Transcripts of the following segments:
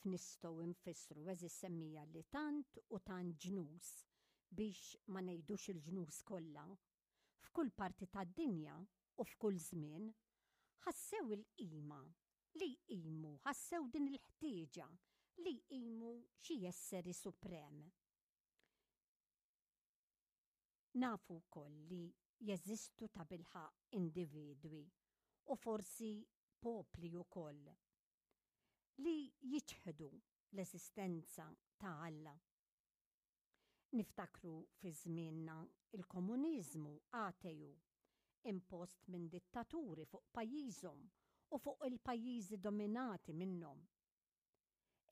Kif nistgħu nfissru għeżież semmiegħa li tant u tant ġnus, biex ma ngħidux il-ġnus kollha, f'kull parti tad-dinja u f'kull żmien, ħassew il-qima li jqimu, ħassew din il-ħtieġa li jqimu xi esseri suprem? Nafu wkoll li jeżistu tabilħaqq individwi, u forsi popli wkoll, li jiċħdu l-eżistenza ta' Alla. Niftakru fi żmienna l-komuniżmu ateju impost minn dittaturi fuq pajjiżhom u fuq il-pajjiżi dominati minnhom.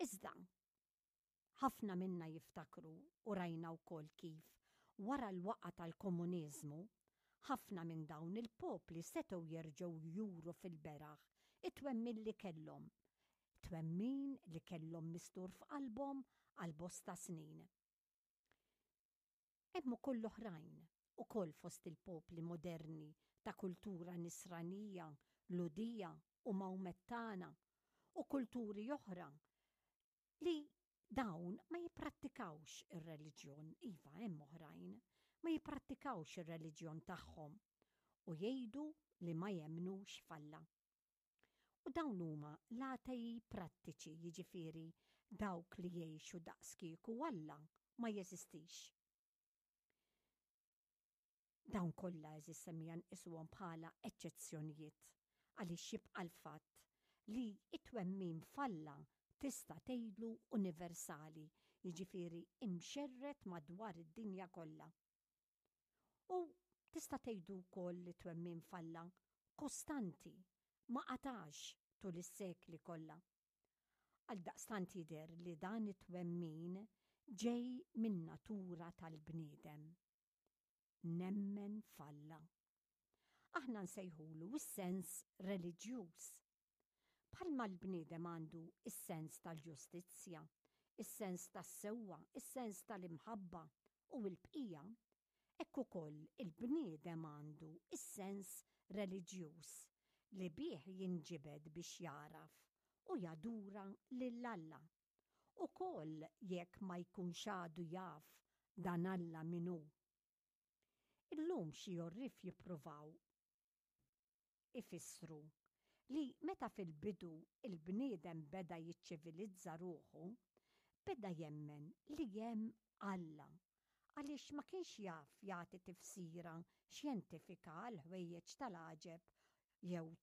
Iżda, Ħafna minna jiftakru u rajna wkoll kif, wara l-waqgħa tal-komuniżmu, ħafna minn dawn il-popli setgħu jerġgħu juru fil-beraħ it-twemmin li kellhom, twemmin li kellhom mistur f'qalbhom għal bosta snin. Hemm ukoll oħrajn, ukoll fost il-popli moderni ta' kultura Nisranija, Lhudija u Mawmettana u kulturi oħra li dawn ma jipprattikawx ir-reliġjon, iva hemm oħrajn, ma jipprattikawx ir-reliġjon tagħhom u jgħidu li ma jemmnux f'Alla. U dawn huma l-atei prattiċi, jiġifieri dawk li jgħixu daqskieku Alla ma jeżistix. Dawn kollha għeżież semmiegħa nqisuhom bħala eċċezzjonijiet għaliex jibqa' l-fatt li t-twemmin f'Alla tista' tgħidlu universali, jiġifieri imxerred madwar id-dinja kollha. U tista' tgħidu wkoll li t-twemmin f'Alla kostanti, ma qatax tul is-sekli kollha. Għaldaqstant jidher li dan it-twemmin ġej min-natura tal-bniedem. Nemmen f'Alla. Aħna nsejħulu s-sens reliġjuż. Bħalma l-bniedem għandu s-sens tal-ġustizzja, is-sens tas-sewwa, is-sens tal-imħabba u l-bqija, hekk ukoll il-bniedem għandu s-sens reliġjuż li bih jinġibed biex jagħraf u jadura lil Alla. Ukoll jekk ma jkunx għadu jaf dan Alla min hu. Illum xi għorrief jippruvaw ifissru li meta fil-bidu l-bniedem beda jiċċivilizza ruħu, beda jemmen li hemm Alla għaliex ma kienx jaf jagħti tifsira xjentifika għall-ħwejjeġ tal-għaġeb jew tal.